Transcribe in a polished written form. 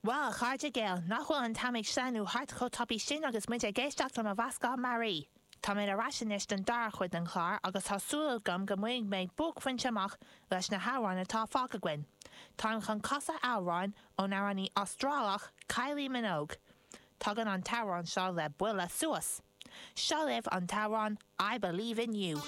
Bhuel, a chairde Gael, nach bhfuil an t-am ag sleamhnú thart chomh tapaidh sin agus muid ag éisteacht le mo mheascán mearaí! Tá mé ar ais anois don dara cuid den chlár agus tá súil agam go mbainfidh mé buaicphointe amach leis na hamhráin atá fágtha againn. Táim chun casadh amhráin ón amhránaí Astrálach Kylie Minogue. Tagann an t-amhrán seo le buille suas! Seo libh an t-amhrán I Believe in You.